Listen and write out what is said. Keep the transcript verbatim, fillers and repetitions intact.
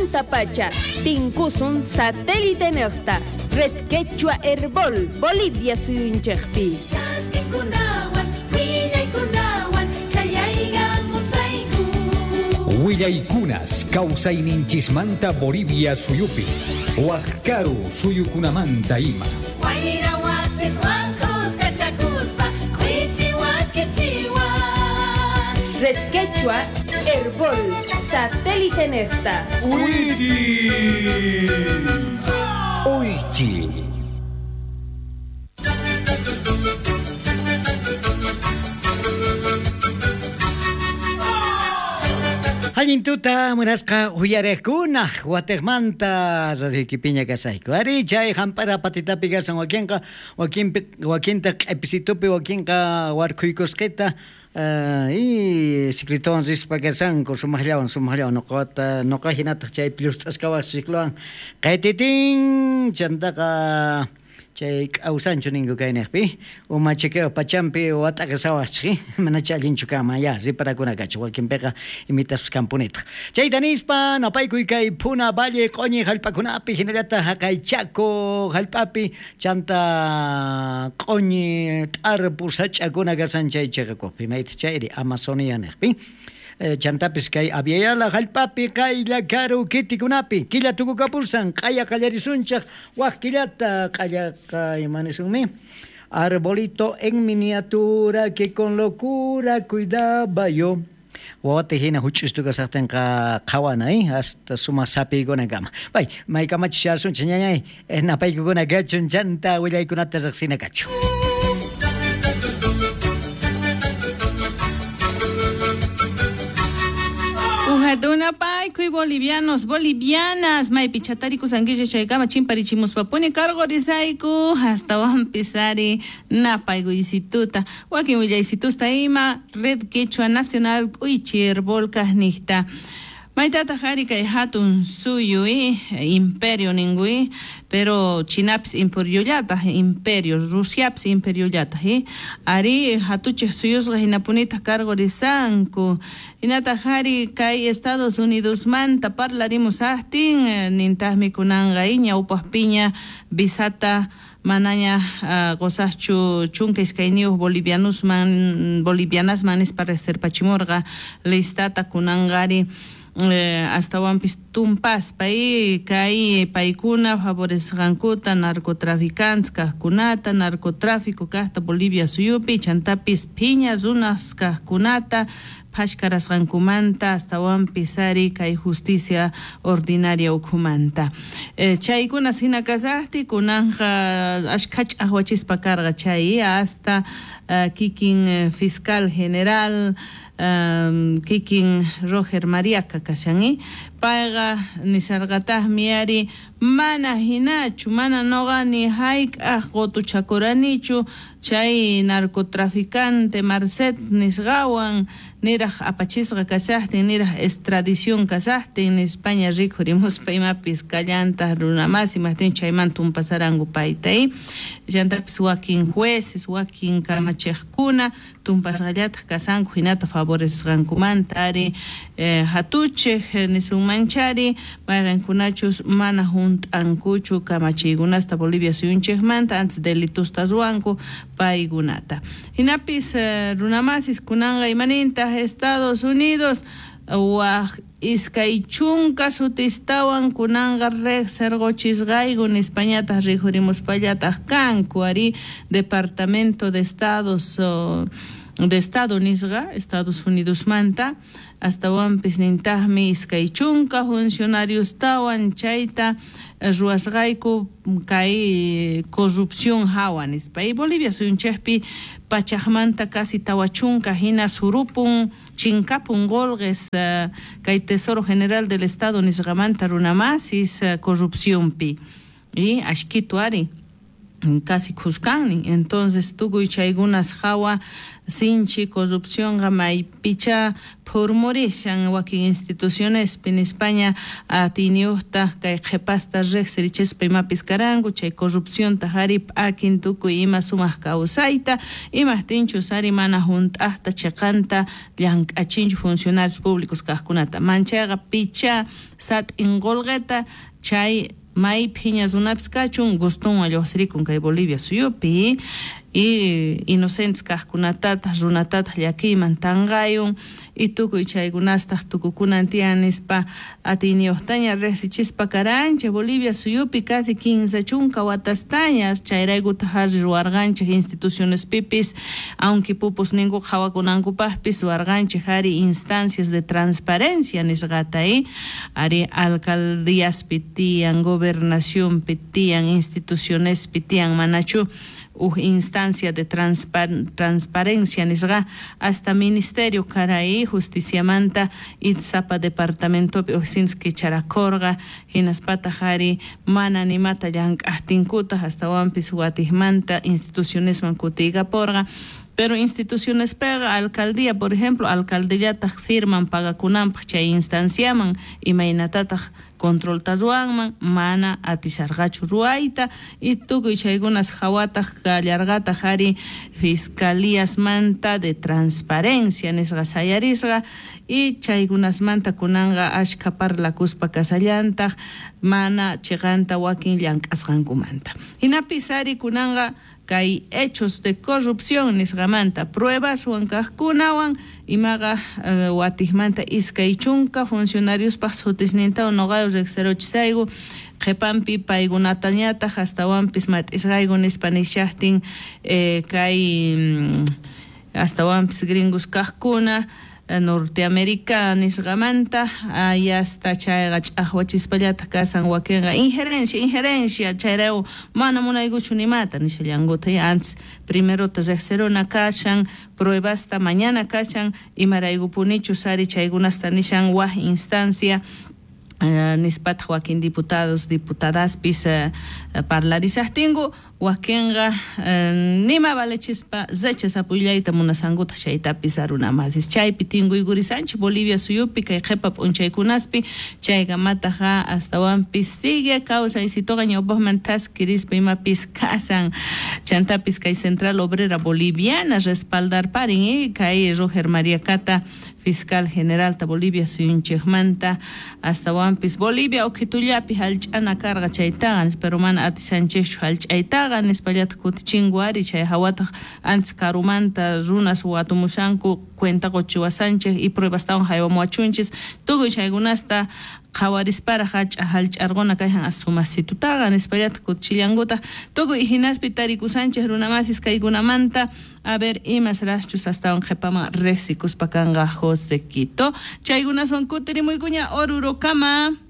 Pacha, tinkusun satélite nejta, Red Quechua Herbol, Bolivia suyunchejpi. Willaykunas kawsayninchismanta Bolivia suyupi, Wajkaru suyukunamanta ima. Wayra wasis wankus kachakuspa, kwichiwa kichiwa. Red Quechua Herbol, satélite nefta. Uichi! Uichi! Allin tuta munasqa uyariqkuna Wateqmanta radioykipiña kasayku. Ari chay hamp'ara patitapi kasan wakinqa wakinpi wakinta q'episitupi wakinqa warkhuykusqita Uh, y ciclitowan rispa kasanku sumaqllawan sumaqllawan nuqata nuqa hinataq chaypi llusq'askawaq ciclowan qaytitin chantaqa chay k'awsanchu ninku kayniqpi umachikiwa pachampi wat'aqisawaqchik manacha allinchu kanman ya riparakuna kachu wakinpiqa imitaspas kanpunitaq chayta nispa napaykuy kay Puna Valle q'uñi hallp'akunapi hinallataq haqay Chaco hallp'api chanta q'uñi t'arpu sach'akuna kasan chay chiqakuqpi maytaq chayri Amazonia niqpi chantapis kay Aviala hallp'api qaylla karu kitikunapi killa tukukapursan q'aya qallarisunchaq waq killata q'allaqa imanisunmi arbolito en miniatura que con locura cuidaba yo wawata hina huch'istu kasaqtinqa qhawana eh hasta sumaq sapiykunakama bay maykamachishasunchik ñañay napaykukuna kachun chanta willaykunata riqsina kachu. Tunapaykuy bolivianos, bolivianas, maypi chatarikusqankichik chaykama chimparichimuspapuni karqurisayku hastawanpis ari napaykuysituta wakin willaysitusta ima Red Quechua Nacional k'uychi Herbol kaqniqta. Maytataq ari kay hatun suyu imperio ninku pero Chinapis imperiollataq imperio Rusiapis imperiollataq ari hatuchej suyusqa hinapunitaq karqurisanku hinataq ari kay Estados Unidosmanta parlarimusaqtin nintaqmi kunanqa ñawpaqpiña visata manaña uh, qusaqchu chunka iskayniyuq bolivianosman bolivianasman nispa reserpachimurqa listata kunanqa ari Eh, astawanpis tumpaspa y kay paykuna favorecesqankuta narcotraficantes kaqkunata narcotráfico kaqta Bolivia suyupi chantapis phiña runas kaqkunata phashkarasqankumanta astawanpis ari kay justicia ordinaria ukhumanta eh, chaykuna hina kasaqti kunanqa ashkha ch'aqwachispa karqa chay hasta uh, kikin fiscal general um, kikin Roger Mariaca kashan payqa nisarqataqmi ari mana hinachu mana noqa ni hayk'aq qutuchakuranichu chay narcotraficante Marcet nisqawan niraq apachisqa kashaqtin niraq extradición kashaqtin nispaña rikhurimuspa imapis kallantaq runamasi imaqtin chayman tumpasaranku payta llantapis wakin jueces wakin kamachiqkuna tumpasqallataq kasanku hinata favorecesqankumanta ari eh, hatuchej nisunmanchari mayqinkunachus mana hunt'ankuchu kamachiykunasta Bolivia suyunchikmanta antes delitusta ruwanku paykunata hinapis eh, runamasis kunanqa imanintaq Estados Unidos waq iskay chunka sutistawan kunanqa riqsirquchisqayku nispañataq rikhurimuspallataq kanku ari Departamento de Estados oh, de Estado nisqa Estados Unidosmanta astawanpis nintaqmi iskay chunka funcionariostawan chayta ruwasqayku kay corrupción hawa nispa y Bolivia suyunchikpi pachaqmanta casi tawa chunka hina surupun chinkapun qolqes uh, kay Tesoro General del Estado nisqamanta runamasis uh, corrupcionpi y ashkitu ari Casi khuskannin. Entonces tukuy chaykunas hawa sinchi corrupcionqa maypicha phurmurishan wakin institucionespi nispaña atiyniyuqta kay qhipasta riqsirichispa imapis karanku chay corrupcionta ari p'akin tukuy ima sumaq kawsayta imaqtinchus ari mana hunt'aqta chiqanta llank'achinchu funcionarios públicos kaqkunata manchayqa picha sat'in qullqita chay may phiña runapis kachun gustunwan lluqsirikun kay Bolivia suyupi y inocentes kaqkunatataq runatataq llakiyman tanqayun y tukuy chaykunastaq tukukunan tiyan nispa atiyniyuqtaña riqsichispa karanchik Bolivia suyupi casi kinsa chunka watastaña chayraykutaq ari ruwarqanchik institucionespipis aunque pupus ninku qhawakunankupaqpis ruwarqanchik ari instancias de transparencia nisqata y ari alcaldíaspi tiyan gobernacionpi tiyan institucionespi tiyan manachu uj instancia de transpar transparencia nisqa hasta ministerio karay justiciamanta Itzapa departamentopi ujsinski charakorqa hinaspataq ari mana nimata llank'aqtinkutaq astawanpis watiqmanta institucionesman kutiykaporqa. Pero instituciones pega, alcaldía, por ejemplo, alcaldillataq firman pagakunanpaq chay instanciaman imaynatataq controlta ruwanman mana atisharqachu ruwayta y tukuy chaykunas hawataq kallarqataq ari fiscalíasmanta de transparencia nisqa sayarisqa y chaykunasmanta kunanqa ashka parlakuspa kasallantaq mana chiqanta wakin llank'asqankumanta. Hinapis ari kunanqa kay hechos de corrupción nisqamanta pruebaswan kaqkunawan imaqa uh, watiqmanta iskay chunka funcionariospaq sutisnintawan noqayu riqsiruchisayku qhipanpi paykunatañataq astawanpis mat'isqayku nispa nishaqtin eh, kay mm, astawanpis gringos kaqkuna Norteamérica nisqamanta ayasta chayqa ch'aqwachispallataq kasan wakinqa injerencia injerencia chayraw mana munaykuchu nimata nishallankuta antes primerota riqsiruna kashan pruebasta mañana kashan imaraykupunichus ari chaykunasta nishan waj instancia Uh, nispataq wakin diputados diputadaspis uh, parlarisaqtinku wakinqa uh, nima valechispa rechazapullayta munasankutaq chaytapis arunamasis chaypi tinkuykurisanchik Bolivia suyupi kay qhipa p'unchaykunaspi chaykamataqa astawanpis sigue kawsaysituqa ñawpaqman thaskirispa imapis kasan chantapis kay Central Obrera Boliviana respaldarparin eh, kay Roger María Cata fiscal general ta Bolivia suyunchikmanta astawanpis Bolivia ukhitullapi hallch'ana karqa chaytaqa pero mana atishanchikchu hallch'aytaqa nispallataq kutichinku ari chay hawataq antes karumanta runas watumushanku cuenta quchiwasanchik y pruebastawan haywamuwachunchis tukuy chaykunasta qhawarisparaq hach'a hallch'arquna kayhan asumasitutaqa nispallataq kutichillankutaq tukuy hinaspi tarikusanchik runamasis kaykunamanta a ver imas raschus astawan qhipaman riqsikuspa kanqa José Quito chaykunaswan kutirimuykuña Orurokama.